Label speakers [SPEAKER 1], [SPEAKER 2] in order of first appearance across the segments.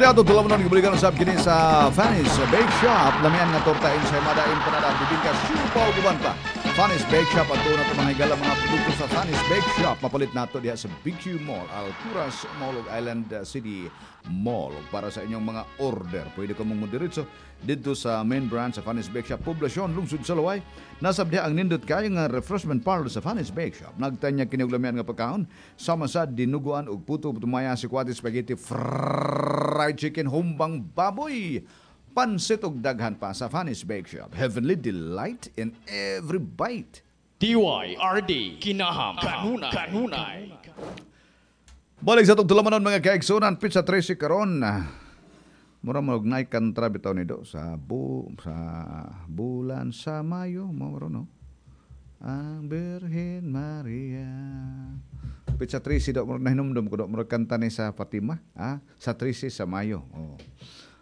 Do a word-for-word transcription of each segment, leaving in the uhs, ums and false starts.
[SPEAKER 1] Kini ato tulamanon, gibuligan usab kini sa Fanny's Bake Shop. Lamian nga torta, ensaymada, empanada, bibingka, siopao, uban pa. Fanny's Bake Shop ato na mga higala, mga produkto sa Fanny's Bake Shop. Mapalit nato diha sa B Q Mall, Alturas Mall ug Island City Mall. Ug para sa inyong mga order, pwede ka mong modiretso dito sa main branch sa Fanny's Bake Shop, Poblacion, Lungsod sa Loay. Nasab diha ang nindot kayo nga refreshment parlor sa Fanny's Bake Shop. Nagtanyag kini og lamian nga pagkaon sama sa dinuguan ug puto, tumaya, sikwate, spaghetti, fried chicken, humbang baboy, pansit ug daghan pa sa Fanny's Bake Shop. Heavenly delight in every bite.
[SPEAKER 2] D Y R D Kinaham Kanunay Kanunay.
[SPEAKER 1] Balik sa atong tulamanon, mga kaigsunan, petsa trese karon. Mura mo og naay kantra bitaw ni do sa bu sa bulan sa Mayo mo no. Ang Birhen Maria. Petsa trese do, murag nahinumdum ko do, murag kanta ni sa Fatima, ah, sa trese sa Mayo. Oh.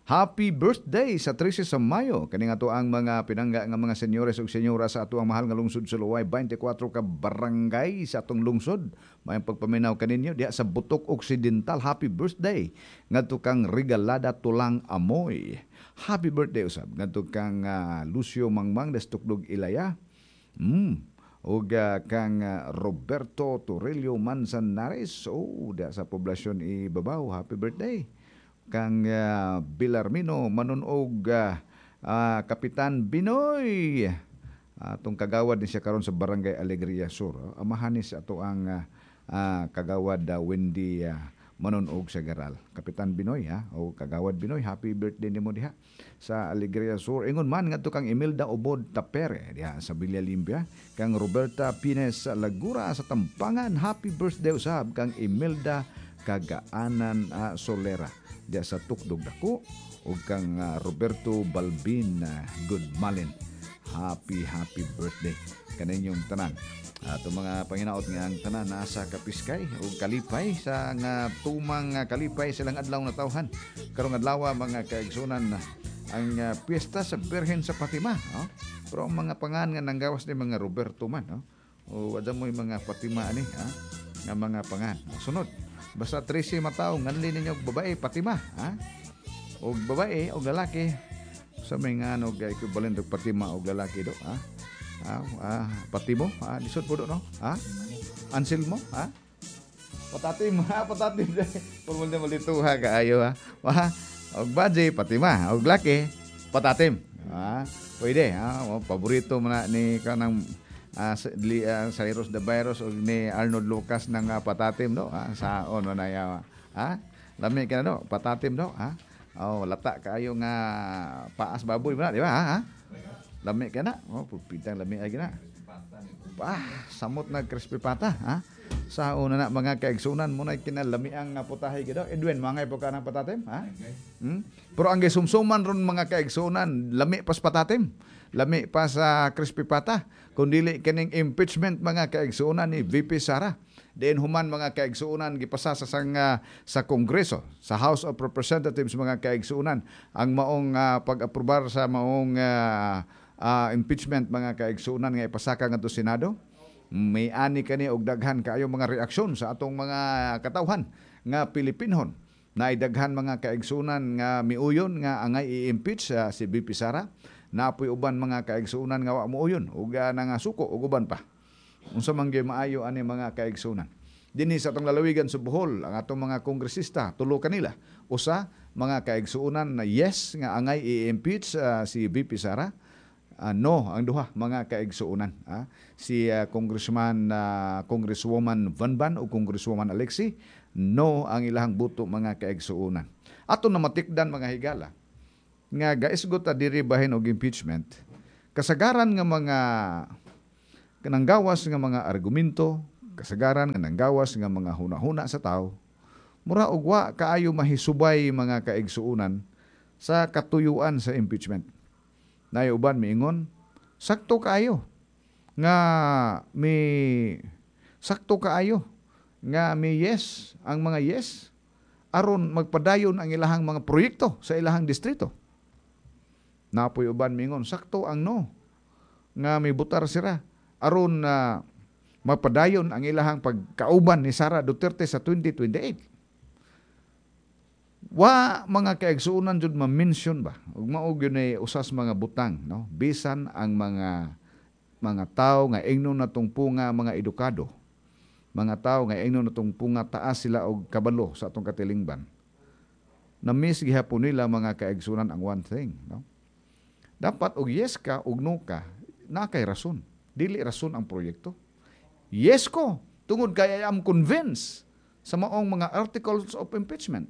[SPEAKER 1] Happy birthday sa trese sa Mayo. Kani nga to ang mga pinangga nga mga senyores ug senyora sa ato ang mahal nga lungsod sa Loay, twenty-four ka barangay sa atong lungsod. Mayong pagpaminaw kaninyo diha sa Butok Occidental. Happy birthday ngadto kang Regalada Tulang Amoy. Happy birthday usab ngadto kang ah, Lucio Mangmang Destukdog Ilaya. Mm. Ug ah, kang ah, Roberto Torello Manzanares, oh, diha sa poblasyon Ibabaw. Happy birthday kang uh, Bilarmino Manunog, uh, ah, Kapitan Binoy. Atong kagawad ni siya karon sa Barangay Alegria Sur. Amahan ni sa ato ang ah, ah, kagawad uh, Wendy uh, Manunog sa Garal. Kapitan Binoy ha o Kagawad Binoy, happy birthday nimo diha sa Alegria Sur. Ingon man ngadto kang Imelda Obod Tapere diha sa Villa Limpia, kang Roberta Pines Lagura sa Tampangan, happy birthday usab kang Imelda Kagaanan uh, Solera diha sa Tukdog Dako ug kang ah, Roberto Balbin uh, Goodmalin. Happy, happy birthday kaninyong tanan. Ato mga panginaot nga ang tanan nasa kapiskay ug kalipay sa nga tumang nga kalipay silang adlaw na tawhan. Karong adlaw, mga kaigsunan, ang uh, piyesta sa Birhen sa Fatima, oh. Pero ang mga pangan nga nanggawas ni mga Roberto man, oh. O wala mo mga Fatima ani, ha? Nga mga pangan. Sunod. Basta trese mataw nganli ninyo og babae Fatima, ha? Og babae og lalaki sa may nga ano equivalent og Fatima og lalaki do, ha? Ah, ah, Patimo, ah, lisod po do, no? Ha? Anselmo, ha? Patatim, ha? Patatim. Purmul na malituha kaayo, ha? Ha? Og badje, Fatima. Og laki, patatim. Ha? Pwede, ha? O, paborito mo na ni kanang uh, li, uh, Cyrus the Virus o ni Arnold Lucas ng uh, patatim, no? Ha? Sa ono na yawa. Ha? Lami ka na, no? Patatim, no? Ha? Oh, lata kaayo nga paas baboy mo na, di ba? Ha? Lami ka na. Oh, pupitang lami ay gina. Ah, samot na crispy pata, ha? Sa una na, mga kaigsunan mo na kinalami ang putahe gid. Edwin, mangay po ka ng patatim, ha? Hmm? Pero ang gisumsuman ron, mga kaigsunan, lami pas patatim. Lami pa sa crispy pata. Kung dili kining impeachment, mga kaigsunan, ni V P Sara. Diin human, mga kaigsunan, gipasa sa sang, uh, sa Kongreso, sa House of Representatives, mga kaigsunan, ang maong uh, pag-aprobar sa maong uh, uh, impeachment, mga kaigsunan, nga ipasaka ngadto Senado. May ani kani og daghan kaayo mga reaksyon sa atong mga katawhan nga Pilipinhon. Naidaghan, mga kaigsunan, nga miuyon nga angay i-impeach uh, si V P Sara. Napoy uban, mga kaigsunan, nga wa muuyon ug uh, nangasuko ug uban pa. Unsa man gyud maayo ani, mga kaigsunan? Dinhi sa atong lalawigan sa Bohol, ang atong mga kongresista, tulo kanila. Usa, mga kaigsunan, na yes nga angay i-impeach uh, si V P Sara. Uh, no ang duha, mga kaigsuonan. Ah, si uh, Congressman uh, Congresswoman Van Van o Congresswoman Alexi, no ang ilahang buto, mga kaigsuonan. Ato na matikdan, mga higala, nga gaisgot ta diri bahin og impeachment, kasagaran nga mga kananggawas nga mga argumento, kasagaran nga nanggawas nga mga hunahuna sa tao, mura og wa kaayo mahisubay, mga kaigsuonan, sa katuyuan sa impeachment. Nay uban miingon, sakto kaayo nga mi sakto kaayo nga mi yes ang mga yes aron magpadayon ang ilahang mga proyekto sa ilahang distrito. Napoy uban miingon, sakto ang no nga mibutar sila aron na mapadayon ang ilahang pagkauban ni Sara Duterte sa twenty twenty-eight. Wa mga kaigsuonan jud ma-mention ba ug mao gyud ni usas mga butang, no? Bisan ang mga mga tawo nga ingnon natong punga mga edukado, mga tawo nga ingnon natong punga taas sila og kabalo sa atong katilingban, na-miss gihapon nila, mga kaigsuonan, ang one thing, no? Dapat og yes ka og no ka, naa kay rason. Dili rason ang proyekto. Yes ko tungod kay I am convinced sa maong mga articles of impeachment.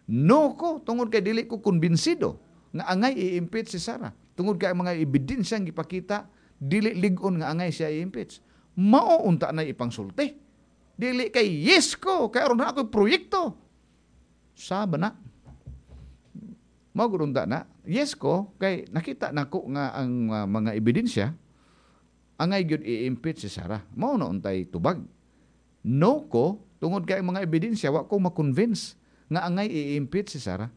[SPEAKER 1] No ko tungod kay dili ko kumbinsido nga angay i-impeach si Sara. Tungod kay ang mga ebidensya gipakita, dili lig-on nga angay siya i-impeach. Mao unta na ipangsulti. Dili kay yes ko kay aron na ako proyekto. Saba na. Mao gud unta na. Yes ko kay nakita nako nga ang uh, mga ebidensya, angay gyud i-impeach si Sara. Mao na untay tubag. No ko tungod kay ang mga ebidensya, wa ko ma-convince nga angay i-impeach si Sara.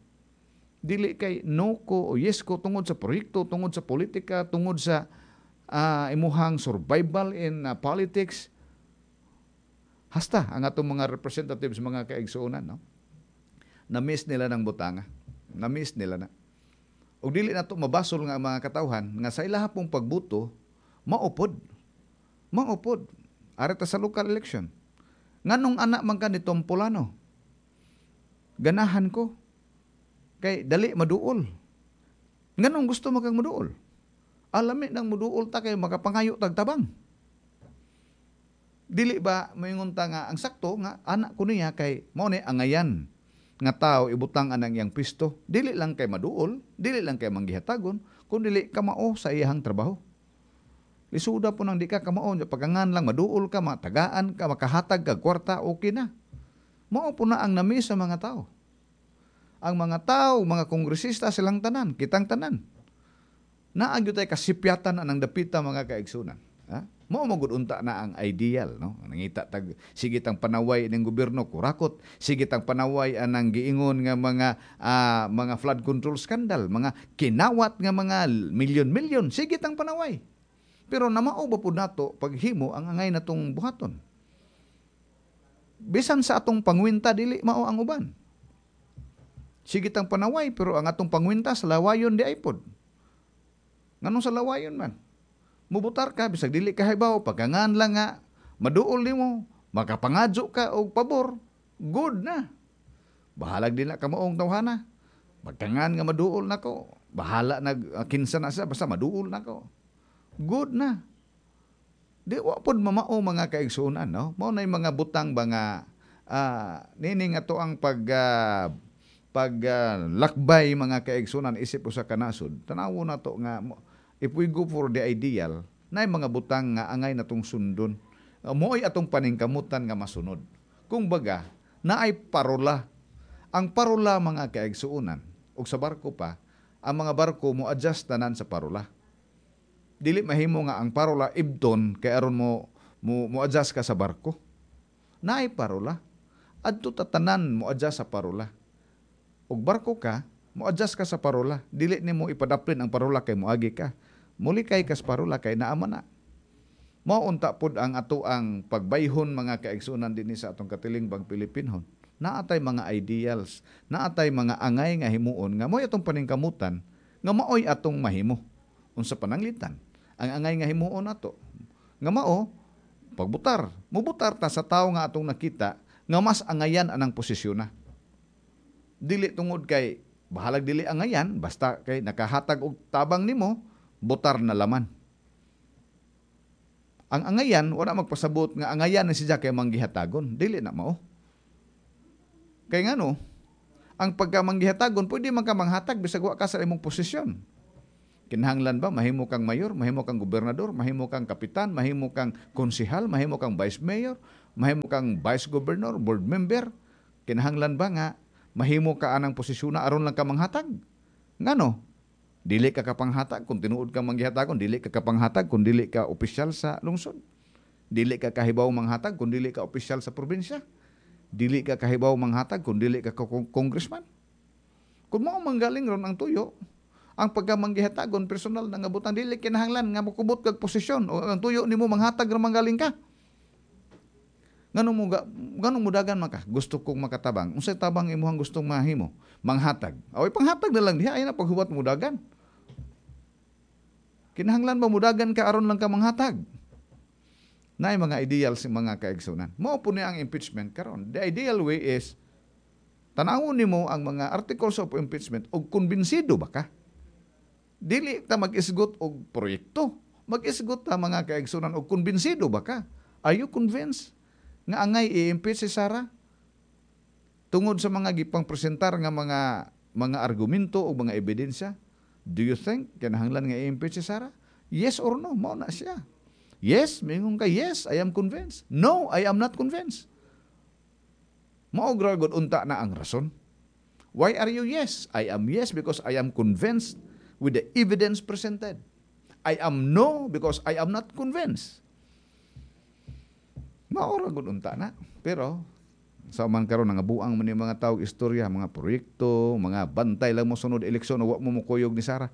[SPEAKER 1] Dili kay no ko o yes ko tungod sa proyekto, tungod sa politika, tungod sa uh, imuhang survival in uh, politics. Hasta ang atong mga representatives, mga kaigsuonan, no? Na-miss nila ng butanga. Na-miss nila na. Og dili nato mabasol nga ang mga katawhan nga sa ilaha pong pagbuto maupod. Maupod. Ari ta sa local election. Nganong anak man ka ni Tom Polano? Ganahan ko. Kay dali maduol. Nganong gusto mo kang maduol? Alami nang muduol ta kay makapangayo tag tabang. Dili ba moingon ta nga ang sakto nga anak ko niya kay mao ni angayan nga tao ibutang anang iyang pisto? Dili lang kay maduol, dili lang kay manggihatagon, kun dili kamao sa iyang trabaho. Lisuda po nang di ka kamao, pagkangan lang maduol ka, matagaan ka, makahatag ka kwarta, okay na. Mao po na ang nami sa mga tao. Ang mga tao, mga kongresista, silang tanan, kitang tanan. Naa gyud tay kasipyatan anang dapita, mga kaigsunan. Ha? Mao magud unta na ang ideal, no? Nangita tag sige tang panaway ning gobyerno kurakot, sige tang panaway anang giingon nga mga uh, mga flood control scandal, mga kinawat nga mga milyon-milyon, sige tang panaway. Pero namao ba pud nato paghimo ang angay natong buhaton? Bisan sa atong pangwinta, dili mao ang uban. Sige tang panaway, pero ang atong pangwinta sa lawayon di ay pod. Nganong sa lawayon man? Mubutar ka, bisag dili ka hibaw, pagkangan lang nga, maduol nimo, makapangadyo ka og pabor, good na. Bahalag din na kamaong tawhana. Pagkangan nga maduol nako, bahala na uh, kinsa na siya, basta maduol nako. Good na. Di wa pod mamao, mga kaigsuonan, no? Mao na mga butang ba nga uh, nini nga to ang pag uh, pag uh, lakbay, mga kaigsuonan, isip usa ka nasod. Tanawo na to nga if we go for the ideal, naay mga butang nga angay natong sundon. Uh, Mo'y atong paningkamutan nga masunod. Kung baga, naay parola. Ang parola, mga kaigsuonan, ug sa barko pa, ang mga barko mo adjust tanan sa parola. Dili mahimo nga ang parola ibton kay aron mo mo, mo adjust ka sa barko. Naay parola. Adto tatanan mo adjust sa parola. Ug barko ka, mo adjust ka sa parola. Dili nimo ipadaplin ang parola kay moagi ka. Mulikay kas parola kay naama na. Mao unta pod ang ato ang pagbayhon, mga kaigsuonan, dinhi sa atong katilingbang Pilipinhon. Naatay mga ideals, naatay mga angay nga himuon nga mo'y atong paningkamutan nga maoy atong mahimo. Unsa pananglitan ang angay nga himuon nato nga mao pagbutar, mubutar ta sa tawo nga atong nakita nga mas angayan anang posisyon na. Dili tungod kay bahalag dili angayan, basta kay nakahatag og tabang nimo, butar na laman. Ang angayan, wala magpasabot nga angayan na siya kay manggihatagon. Dili na mao. Kay ngano, ang pagka manggihatagon, pwede man ka manghatag bisag wa ka sa imong posisyon. Kinahanglan ba mahimo kang mayor, mahimo kang gobernador, mahimo kang kapitan, mahimo kang konsehal, mahimo kang vice mayor, mahimo kang vice governor, board member? Kinahanglan ba nga mahimo ka anang posisyon na aron lang ka manghatag? Ngano? Dili ka kapanghatag kung tinuod ka manggihatagon, dili ka kapanghatag kung dili ka opisyal sa lungsod. Dili ka kahibaw manghatag kung dili ka opisyal sa probinsya. Dili ka kahibaw manghatag kung dili ka congressman. Kung mao manggaling ron ang tuyo, ang pagkamanggihatagon personal na nga butang, dili kinahanglan nga mokubot kag posisyon o ang tuyo nimo manghatag ra manggaling ka. Nganong mo nganong mudagan man ka? Gusto kong makatabang. Unsay tabang imuhang gustong mahimo? Manghatag. Aw, panghatag na lang diha, ay na paghuwat mudagan. Kinahanglan ba mudagan ka aron lang ka manghatag? Naay mga ideal sa mga kaigsunan. Mao po ni ang impeachment karon. The ideal way is tanawon nimo ang mga articles of impeachment og kumbinsido ba ka? Dili ta mag-isgot og proyekto. Mag-isgot ta, mga kaigsunan, og kumbinsido ba ka? Are you convinced nga angay i-impeach si Sara? Tungod sa mga gipang presentar nga mga mga argumento o mga ebidensya, do you think kinahanglan nga i-impeach si Sara? Yes or no, mao na siya. Yes, mingon ka, "Yes, I am convinced." "No, I am not convinced." Mao ra gud unta na ang rason. Why are you yes? I am yes because I am convinced with the evidence presented. I am no because I am not convinced. Mao ra gud unta na. Pero sa man karon nangabuang man ni mga tao istorya, mga proyekto, mga bantay lang mo sunod eleksyon, wa mo mokuyog ni Sara.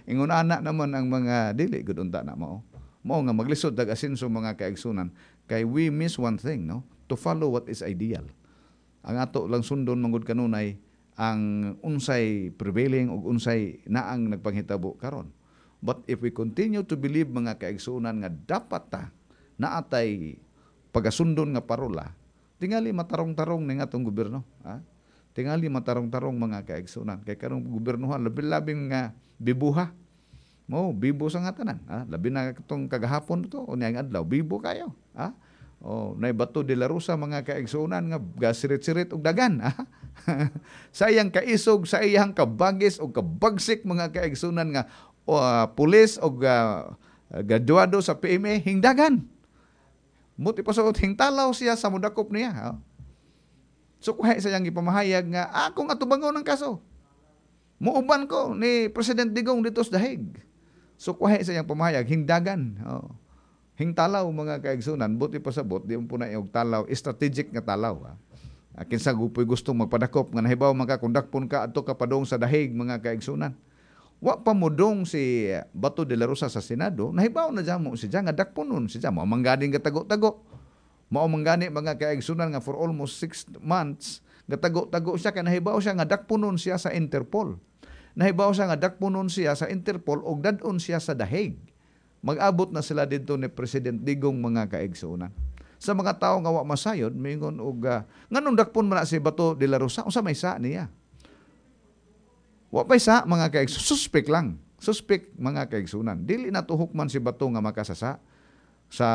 [SPEAKER 1] Ingon ana naman ang mga dili gud unta na mao. Mao nga maglisod tag asenso, mga kaigsunan, kay we miss one thing, no? To follow what is ideal. Ang ato lang sundon manggod kanunay ang unsay prevailing ug unsay naang nagpanghitabo karon. But if we continue to believe, mga kaigsunan, nga dapat ta naatay pagasundon nga parola, tingali matarong-tarong ning atong gobyerno, ha? Tingali matarong-tarong, mga kaigsunan, kay karong gobyernohan labi-labing nga bibuha. Mo bibo sa nga tanan, ha? Labi na katong kagahapon to o niyang adlaw, bibo kayo, ha? Oh, nay Bato de la Rosa, mga kaigsunan, nga gasirit-sirit og dagan, ha? Sa iyang kaisog, sa iyang kabagis og kabagsik, mga kaigsunan, nga uh, pulis og uh, graduado sa P M A hingdagan. Muti pa suot hingtalaw siya sa mudakop niya. Ha? So kuhay sa iyang gipamahayag nga akong atubangon ang kaso. Muuban ko ni President Digong dito sa The Hague. So kuhay sa iyang pamahayag hingdagan. Oh. Hingtalaw, mga kaigsunan, buti pasabot di mo po na og talaw, strategic nga talaw. Ha? Ah, kinsa gupoy gustong magpadakop nga nahibaw man ka kung dakpon ka, adto ka padong sa The Hague, mga kaigsunan. Wa pa modong si Bato de la Rosa sa Senado, nahibaw na mo si nga dakpon nun si mao mangganing gatago-tago. Mao manggani, mga kaigsunan, nga for almost six months gatago-tago siya kay nahibaw siya nga dakponon siya sa Interpol. Nahibaw siya nga dakponon siya sa Interpol og dad-on siya sa The Hague. Mag-abot na sila didto ni President Digong, mga kaigsunan. Sa mga tawo nga wa masayod, mingon og uh, nganong dakpon man na si Bato de la Rosa, unsa may sa niya? Wa pay sa, mga kaigsunan, suspect lang. Suspect, mga kaigsunan. Dili na tuhok man si Bato nga makasasa sa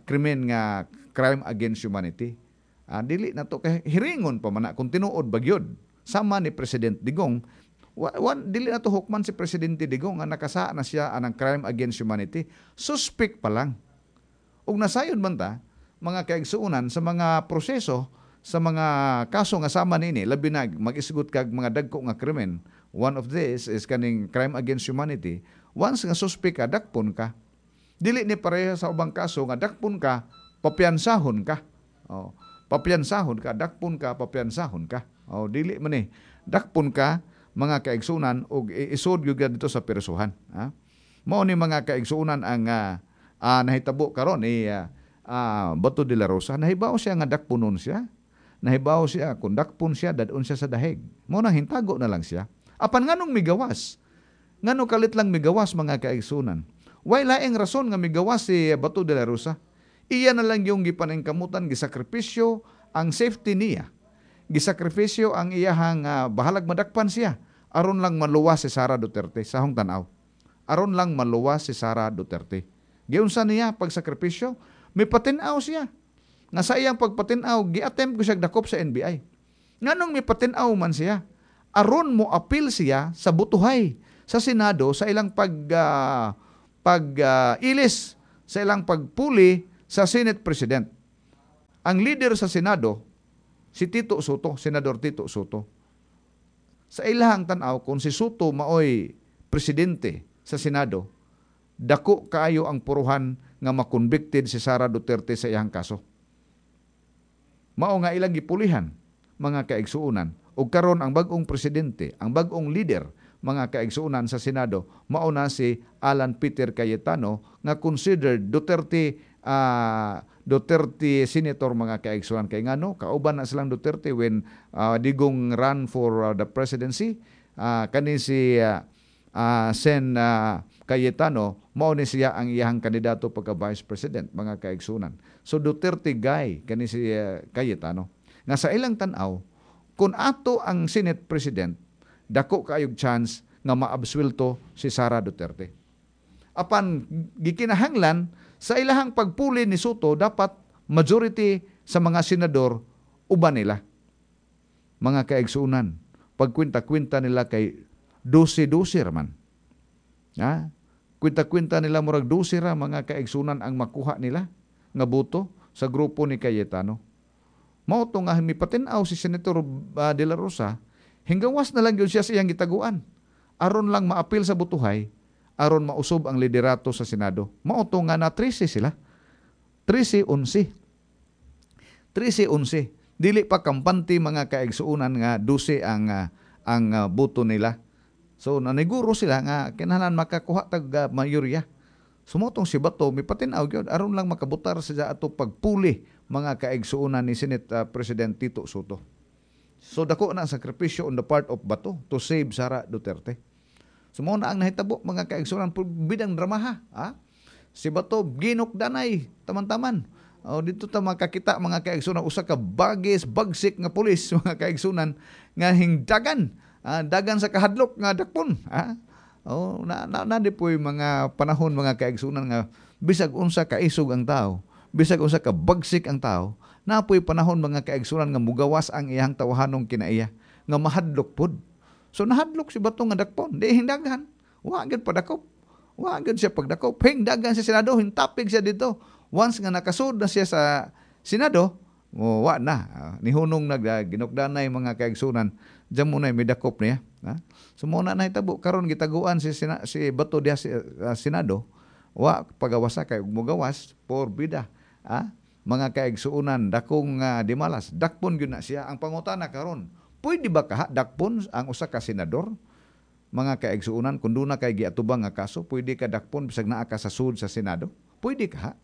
[SPEAKER 1] krimen nga crime against humanity. Ah, dili na to kay hiringon pa man na kung tinuod bagyod. Sama ni President Digong, wa, wa, dili na to hukman si Presidente Digong nga nakasa na siya anang crime against humanity. Suspect pa lang. Ug nasayod man ta, mga kaigsuonan, sa mga proseso sa mga kaso nga sama nini, labi na mag-isgot kag mga dagko nga krimen. One of this is kaning crime against humanity. Once nga suspect ka, dakpon ka. Dili ni pareha sa ubang kaso nga dakpon ka, papiansahon ka. Oh, papiansahon ka, dakpon ka, papiansahon ka. Oh, dili man ni. Dakpon ka, mga kaigsunan, ug isod gyud dito sa persuhan, ha? Mao ni, mga kaigsunan, ang uh, uh, nahitabo karon ni uh, uh, Bato de la Rosa. Nahibaw siya nga dakponon siya. Nahibaw siya kung dakpon siya, dadon siya sa The Hague. Mao nang hintago na lang siya. Apan nganong migawas? Ngano kalit lang migawas, mga kaigsunan? Way laing rason nga migawas si Bato de la Rosa. Iya na lang yung gipaningkamutan, gisakripisyo ang safety niya. Gisakripisyo ang iyahang uh, bahalag madakpan siya aron lang maluwas si Sara Duterte sa hong tanaw. Aron lang maluwas si Sara Duterte. Giunsa niya pagsakripisyo? May patinaw siya. Nga sa iyang pagpatinaw, gi-attempt ko siya dakop sa N B I. Nganong may patinaw man siya? Aron mo appeal siya sa butuhay sa Senado sa ilang pag uh, pag uh, ilis sa ilang pagpuli sa Senate President. Ang leader sa Senado si Tito Sotto, Senador Tito Sotto. Sa ilahang tan-aw, kung si Sotto maoy presidente sa Senado, dako kaayo ang puruhan nga makonvicted si Sara Duterte sa iyang kaso. Mao nga ilang gipulihan, mga kaigsuonan. Ug karon ang bag-ong presidente, ang bag-ong leader, mga kaigsuonan, sa Senado, mao na si Alan Peter Cayetano nga considered Duterte uh, Duterte senator, mga kaigsuonan, kay ngano kauban na silang Duterte when uh, Digong run for uh, the presidency. Uh, kani si uh, uh, Sen uh, Cayetano, mao ni siya ang iyahang kandidato pagka vice president, mga kaigsuonan. So Duterte guy kani si uh, Cayetano nga sa ilang tan-aw, kung ato ang Senate President, dako kaayog chance nga maabswelto si Sara Duterte. Apan gikinahanglan sa ilahang pagpuli ni Sotto, dapat majority sa mga senador uban nila. Mga kaigsuonan, pagkwenta-kwenta nila kay dose-dose raman. Ha? Kwenta-kwenta nila, murag dose ra, mga kaigsuonan, ang makuha nila nga boto sa grupo ni Cayetano. Mao to nga mipatin-aw si Senator uh, De La Rosa, hinggawas na lang gyud siya sa iyang gitaguan aron lang maapil sa botohay, aron mausob ang liderato sa Senado. Mao to nga na trese sila. trese onse. trese onse. Dili pa kampante, mga kaigsuonan, nga dose ang uh, ang uh, boto nila. So naniguro sila nga kinahanglan makakuha tag uh, mayorya. Sumotong si Bato mipatin-aw gyud aron lang makabutar sa ato pagpuli, mga kaigsuonan, ni Senate uh, President Tito Sotto. So dako na ang sakripisyo on the part of Bato to save Sara Duterte. So mao na ang nahitabo, mga kaigsuonan, bidang dramaha, ha? Si Bato ginukdanay taman-taman. O dito ta makakita, mga kaigsuonan, usa ka bagis bagsik nga pulis, mga kaigsuonan, nga hingdagan ah, dagan sa kahadlok nga dakpon, ha? Oh, na, na, na di po'y mga panahon, mga kaigsuonan, nga bisag unsa kaisog ang tao, bisag unsa ka bagsik ang tao, naa po'y panahon, mga kaigsuonan, nga mugawas ang iyang tawahanong kinaiya nga mahadlok pod. So nahadlok si Bato nga dakpon, di hingdagan. Wa gyud padakop. Wa gyud siya pagdakop. Hingdagan sa Senado, hintapig siya dito. Once nga nakasud na siya sa Senado, oh, wa na. Uh, nihunong nag uh, ginukdanay, mga kaigsuonan, diyan mo na midakop niya. Ha? So mao na nahitabo karon, gitaguan si Sina, si Bato diha si uh, Senado. Wa pagawasa kay ug mogawas por bida. Ha? Mga kaigsuonan, dakong uh, dimalas, dakpon gyud na siya. Ang pangutana karon, pwede ba kaha dakpon ang usa ka senador? Mga kaigsuonan, kung duna kay giatubang nga kaso, pwede ka dakpon bisag naa ka sa sud sa Senado? Pwede ka?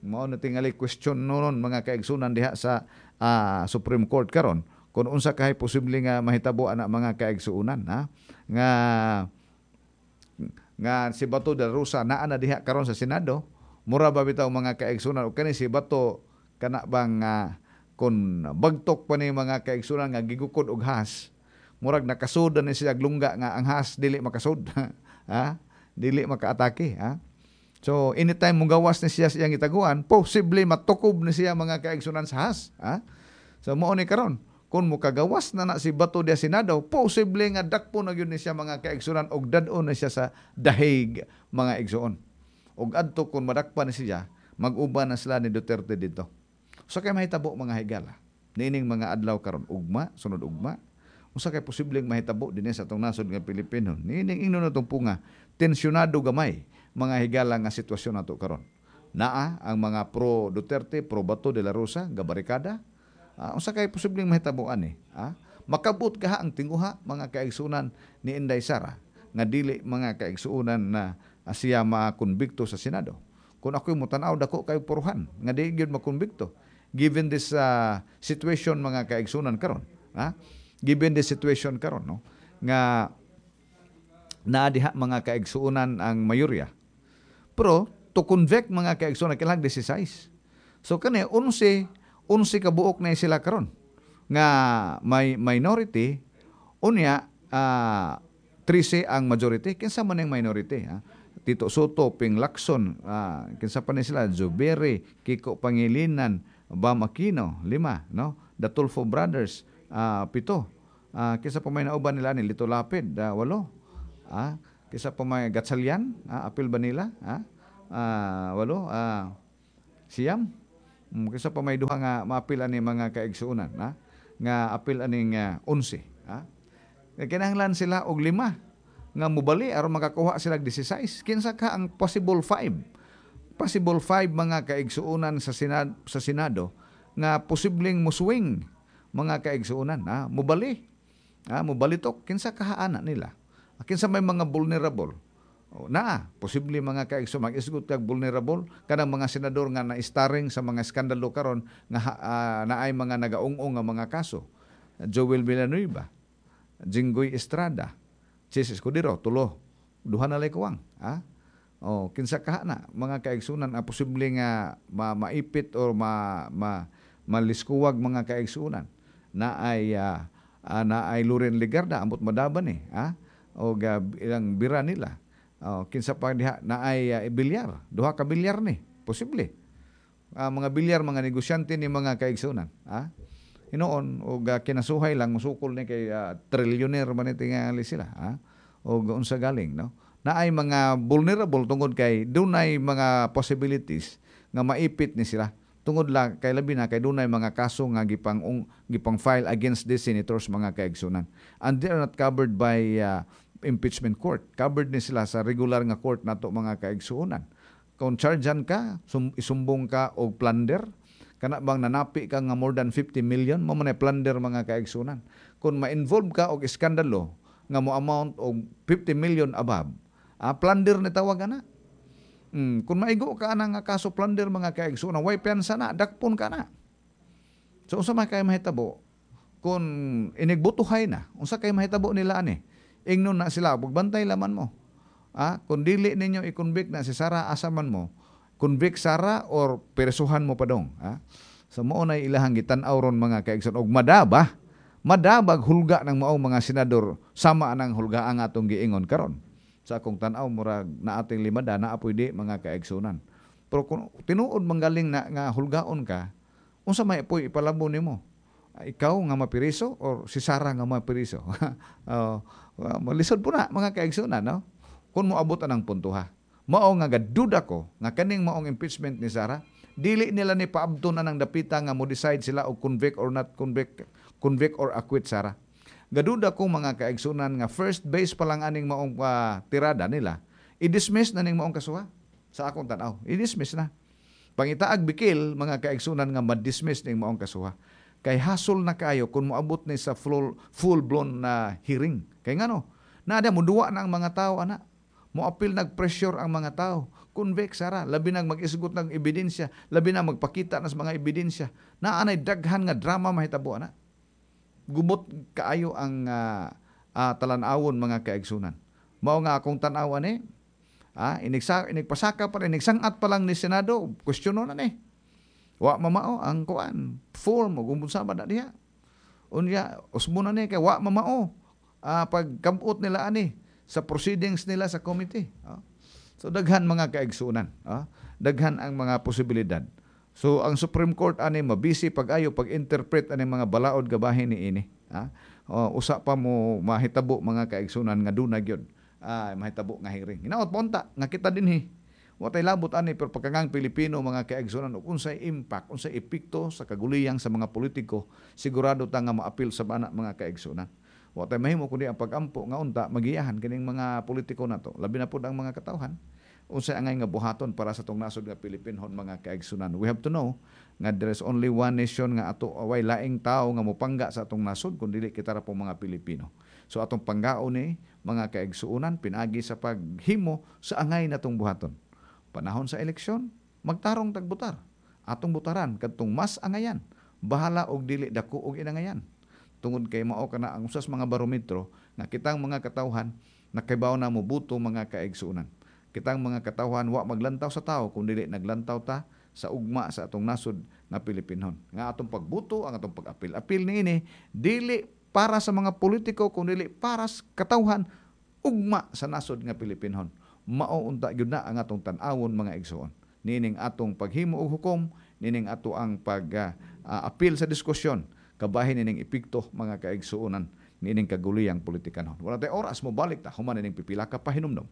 [SPEAKER 1] Mao na tingali question noon, mga kaigsuonan, diha sa uh, Supreme Court karon kung unsa kahay posible nga mahitabo ana, mga kaigsuonan, ha, nga nga si Bato de la Rosa naa na diha karon sa Senado. Mura ba bitaw, mga kaigsuonan, o kani si Bato kana bang uh, kun bagtok pa ni, mga kaigsuonan, nga gigukod og has, murag nakasud na ni siya lungga nga ang has dili makasud, ha, dili makaatake, ha? So anytime mugawas ni siya sa iyang gitaguan, posible matukob ni siya, mga kaigsuonan, sa has, ha? So mao ni karon, kung mukagawas na na si Bato diha Senado, posible nga dakpo na gyud ni siya, mga kaigsuonan, og dad-on na siya sa The Hague, mga igsuon. Og adto, kung madakpan ni siya, mag-uban na sila ni Duterte dito. So kay mahitabo, mga higala niining mga adlaw karon, ugma, sunod ugma, unsa kay posibleng mahitabo dinhi sa atong nasod nga Pilipino niining ingnon natong punga tensyonado gamay, mga higala, nga sitwasyon nato karon? Naa ang mga pro Duterte, pro Bato de la Rosa, gabarikada. Uh, unsa kay posibleng mahitabo ani? Ah? Makabot kaha ang tinguha, mga kaigsuonan, ni Inday Sara nga dili, mga kaigsuonan, na uh, siya makonbikto sa Senado? Kung ako'y mutanaw, dako kay puruhan nga di gyud makonbikto given this uh, situation, mga kaigsuonan, karon. Ha? Given this situation karon, no, nga naa diha, mga kaigsuonan, ang mayorya. Pero to convict, mga kaigsuonan, kailangan sixteen. So kani eleven eleven ka buok na sila karon nga may minority, unya uh, thirteen ang majority. Kinsa man ang minority, ha? Tito Sotto, Ping Lacson, uh, kinsa pa ni sila, Zubiri, Kiko Pangilinan, Bam Aquino, lima, no? The Tulfo Brothers, uh, pito. Uh, kinsa pa may nauban nila ni Lito Lapid, uh, walo. Ah, kinsa pa may Gatchalian, ah, apil ba nila? Ah, uh, walo, ah, siyam. Um, kinsa pa may duha nga maapil ani, mga kaigsuonan, ha? Nga apil aning uh, onse, ha? Kinahanglan sila og lima nga mubali aron makakuha sila og sixteen. Kinsa ka ang possible five? Possible five, mga kaigsuonan, sa Senado, sa Senado nga posibleng muswing, mga kaigsuonan, ha? Mubali. Ha, mubalitok kinsa kahaana nila? Kinsa may mga vulnerable? O, naa, posible mga kaigso mag-isgot kag vulnerable kanang mga senador nga na-starring sa mga skandalo karon nga uh, naay mga nagaung-ong nga mga kaso. Joel Villanueva, Jinggoy Estrada, Chiz Escudero, tulo. Duha na lay kuwang, ha? Oh, kinsa ka na mga kaigsunan ang posible nga ma maipit or ma, ma maliskuwag mga kaigsunan na ay uh, uh, na ay Loren Legarda ambot madaban eh, ha? O uh, ilang bira nila. Oh, kinsa pa diha na ay uh, bilyar, duha ka bilyar ni, posible. Uh, mga bilyar, mga negosyante ni mga kaigsunan, ha? Hinoon og uh, kinasuhay lang musukol ni kay uh, trillionaire man tingali sila, ha? Og unsa galing, no? Naay mga vulnerable tungod kay dunay mga possibilities nga maipit ni sila tungod lang kay labi na kay dunay mga kaso nga gipang ung, gipang file against these senators mga kaigsunan, and they are not covered by uh, impeachment court. Covered ni sila sa regular nga court nato mga kaigsuonan. Kung chargean ka, sum, isumbong ka og plunder, kana bang nanapi ka nga more than fifty million, mo man ay plunder mga kaigsuonan. Kung ma-involve ka og iskandalo nga mo amount og fifty million above, ah, plunder ni tawag ana. Mm, kung maigo ka ana nga kaso plunder mga kaigsuonan, way piyansa na, dakpon ka na. So unsa man kay mahitabo kung inigbutuhay na, unsa kay mahitabo nila ani? Ingnon na sila, pagbantay laman mo. Ah, kung dili ninyo i-convict na si Sara, asa man mo? Convict Sara or presuhan mo pa dong. Ah? So mao na ilahang gitan-aw ron mga kaigsoon og madaba, madabag hulga ng maong mga senador sama anang hulga ang atong giingon karon. Sa akong tan-aw murag na ating limada na apoy di mga kaigsunan. Pero kung tinuod manggaling na nga hulgaon ka, unsa may apoy ipalabo nimo? Ikaw nga mapiriso or si Sara nga mapiriso? uh, malisod po na mga kaigsunan, no? Kung moabot anang punto ha. Mao nga gaduda ko nga kaning maong impeachment ni Sara, dili nila ni paabto na ng dapita nga mo decide sila og convict or not convict, convict or acquit Sara. Gaduda ko mga kaigsunan nga first base pa lang aning maong uh, tirada nila, i-dismiss na ning maong kasuha. Sa akong tan-aw, i-dismiss na. Pangitaag bikil mga kaigsunan nga ma-dismiss ning maong kasuha. Kay hasol na kayo kung moabot ni sa full, full-blown na hearing. Kay ngano, naada mo duwa na ang mga tao ana. Moapil nag-pressure ang mga tao. Convict Sara, labi nang mag-isgot ng ebidensya, labi na magpakita na sa mga ebidensya. Naanay daghan nga drama mahitabo ana. Gubot kaayo ang uh, uh, talan-awon mga kaigsunan. Mao nga akong tan-awan eh. Ah, inigsa, inigpasaka pa rin, inigsangat pa lang ni Senado, questiono na ni. Wa mamao ang kuan, form ug unsa ba na diha. Unya usbo na ni kay wa mamao uh, pagkabot nila ani sa proceedings nila sa committee. Oh. So daghan mga kaigsunan, oh. Daghan ang mga posibilidad. So ang Supreme Court ani mabisi pag-ayo pag-interpret ani mga balaod gabahin ni ini. Ah? Oh, usa pa mo mahitabo mga kaigsunan nga duna gyud. Ah, mahitabo nga hearing. Hinaot ponta nga kita dinhi. Wa tay labot ani pero pagkangang Pilipino mga kaigsunan og unsay impact, unsay epekto sa kaguliyang sa mga politiko, sigurado ta nga maapil sa bana mga kaigsunan. Wa tay mahimo kundi ang pagampo nga unta magiyahan kining mga politiko nato. Labi na pud ang mga katawhan. Unsay angay nga buhaton para sa tong nasod nga Pilipinhon mga kaigsunan. We have to know nga there is only one nation nga ato way laing tawo nga mopangga sa atong nasod kun dili kita ra po mga Pilipino. So atong panggaon ni mga kaigsuonan pinaagi sa paghimo sa angay natong buhaton. Panahon sa eleksyon, magtarong tagbutar. Atong butaran kadtong mas angayan, bahala og dili dako og inangayan. Tungod kay mao kana ang usas mga barometro nga kitang mga katawhan nakaibaw na mobuto mga kaigsuonan. Kitang mga katawhan wa maglantaw sa tao kung dili naglantaw ta sa ugma sa atong nasod nga Pilipinhon. Nga atong pagbuto, ang atong pag-apil-apil niini dili para sa mga politiko kung dili para sa katawhan ugma sa nasod nga Pilipinhon. Mao unta gyud na ang atong tan-awon mga igsoon. Nining atong paghimo og hukom, nining ato ang pag-apil uh, sa diskusyon, kabahin nining epekto mga kaigsuonan nining kaguliyang politikanon. Wala tay oras mo balik ta human nining pipila ka pahinumdom.